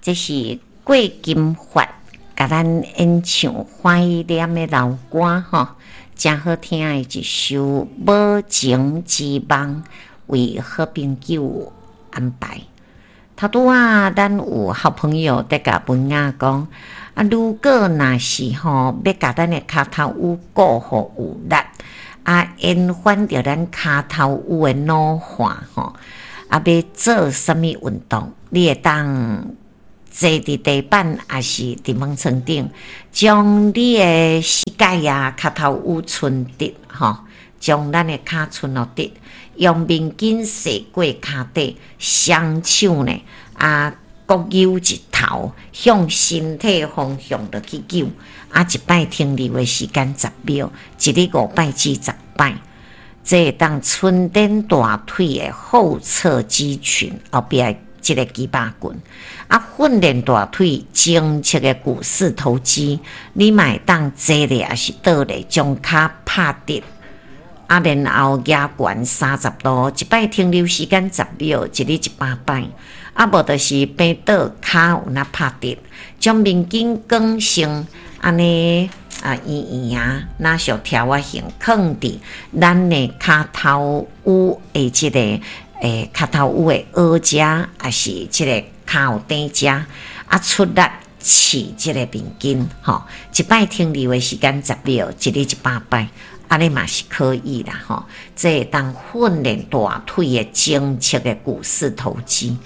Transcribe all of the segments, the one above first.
這是郭金發共咱演唱《歡喜念》的老歌吼，誠好聽的一首《無情之夢》，為好朋友安排。頭拄仔，咱有好朋友佇共文雅講，啊，如果若是吼欲共咱的跤頭趺顧予有力，啊，延緩著咱跤頭趺的老化吼，啊，欲做啥物運動？你會當坐佇地板，抑是佇門床頂，將你的膝蓋啊、跤頭趺伸直吼，將咱的跤伸予直，用面巾洗過跤底，雙手呢啊，各扭一頭，向身體方向落去扭，啊，一擺停留的時間十秒，一日五擺至十擺，這會當伸展大腿的後側肌群，後壁的這个肌肉群，啊，訓練大腿前側的股四頭肌，你嘛會當坐咧，抑是倒咧，將跤拍直，啊，然後舉懸30度，一擺停留時間十秒，一日100擺，啊，無就是平倒跤有那拍直，將面巾捲成按呢啊圓圓啊，若像條仔形，囥佇咱的跤頭趺的這个跤頭趺的腭遮，抑是這个跤頂遮，啊出力拭這个面巾，吼，一擺停留的時間十秒，一日100擺，按呢嘛是可以啦，吼，這會當訓練大腿的前側的股四頭肌，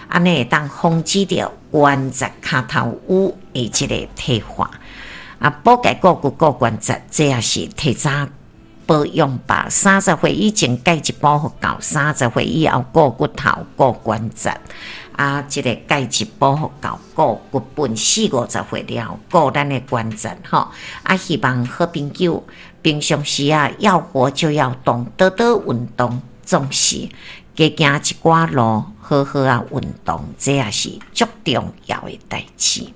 按呢會當防止著關節跤頭趺的這个退化。啊，補鈣顧骨顧關節，這也是提早保養吧。30歲以前鈣質補予夠，30歲以後顧骨頭顧關節。啊，這个鈣質補予夠，顧骨本四五十歲了，顧咱的關節吼。啊，希望好朋友平常時啊，要活就要動，多多運動，總是加行一寡路，好好仔運動，這也是足重要的代誌。